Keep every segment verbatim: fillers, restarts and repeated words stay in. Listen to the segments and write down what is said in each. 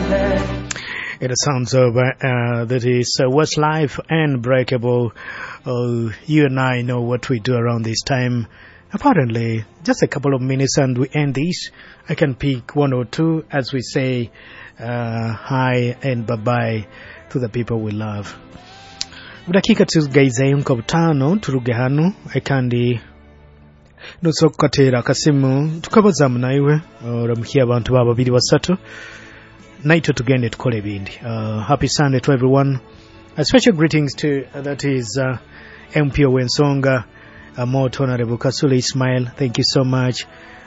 It sounds of uh, that is uh, Westlife and Breakable. Uh, you and I know what we do around this time. Apparently, just a couple of minutes and we end this. I can pick one or two as we say uh, hi and bye bye to the people we love. Budakika tugaizeyo nka butaano turuge hano kandi nosobola kukateera akasimu tukabazamu naiwe oramukia abantu ba babiri basatu naitwe tugende tukole ebindi uh, happy sunday to everyone a special greetings to uh, that is uh, mp ow'ensonga uh, Mot honorable kasule ismail thank you so much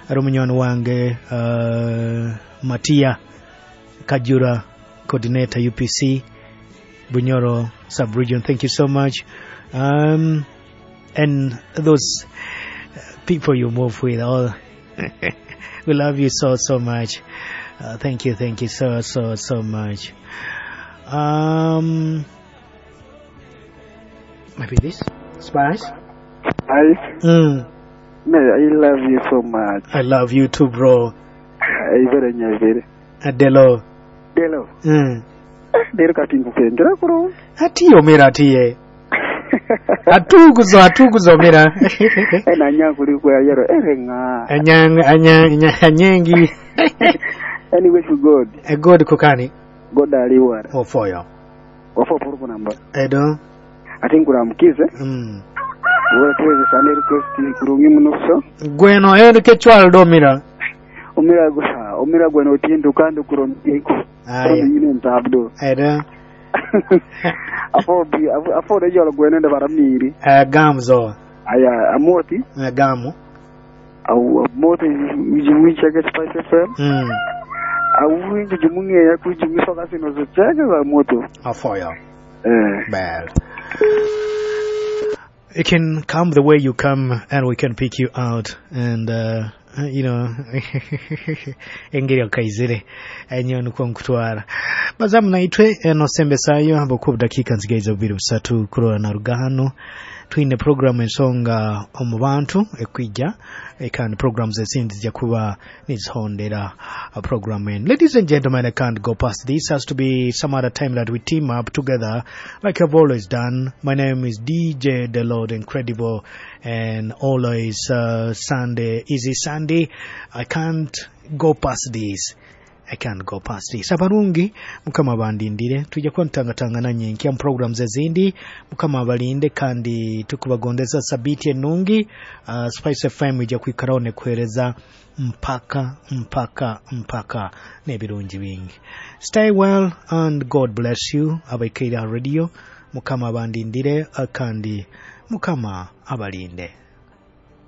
ari omunywani wange uh, matia kajura coordinator upc bunyoro sub-region thank you so much um, and those people you move with all we love you so so much uh, thank you thank you so so so much um maybe this spice Hi. mm, Man, I love you so much. i love you too bro Ibere nyabere. adelo Delo. mm. Dero kati nkukendera kuro. atiye omera atiye atuguzo atuguzo omera Ena nyankuli kwa yero ere nga. anyang anyang anyengi Anyway to God. A god kukani God aliwara. ofoyo Wafo poruko namba. edo Ati nkuramukize. mm. Wala tuweze sana request kurungi muno gweno eri kechwal domira Omira gwa omira gwa no tindu kando kurungi. aya Nyine ntabdo. edo Afo bi afo rejo gwene nda baramiri. uh, gamzo Aya amoti uh, gamu au amoti wicheke Spice FM. mm. awinji jumungeya kujumisoka sino zocheke za moto afoyo eh bad you can come the way you come and we can pick you out and uh, you know engeri okaizire enyo nikwo nkutwara bazamu naitwe eno sembesayo habwokuba obudakiika nzigaiza bubiri busatu kurora na rugano twine program ensonga omu bantu ekwija kandi programs ezindi zijja kuba nizihondera a program and ladies and gentlemen i can't go past this has to be some other time that we team up together like i've always done my name is dj the lord incredible and always uh, sunday easy sunday i can't go past this I can't go past this. Abarungi mukama bandindire tujja kuba ntangatangana nyenkya mu programs ezindi mukama abalinde kandi tukubagondeza sabiti enungi uh, Spice FM ijja kwikaraho nekuhereza mpaka mpaka mpaka n'ebirungi bingi stay well and god bless you abaikaire radio mukama abandindire uh, kandi mukama abalinde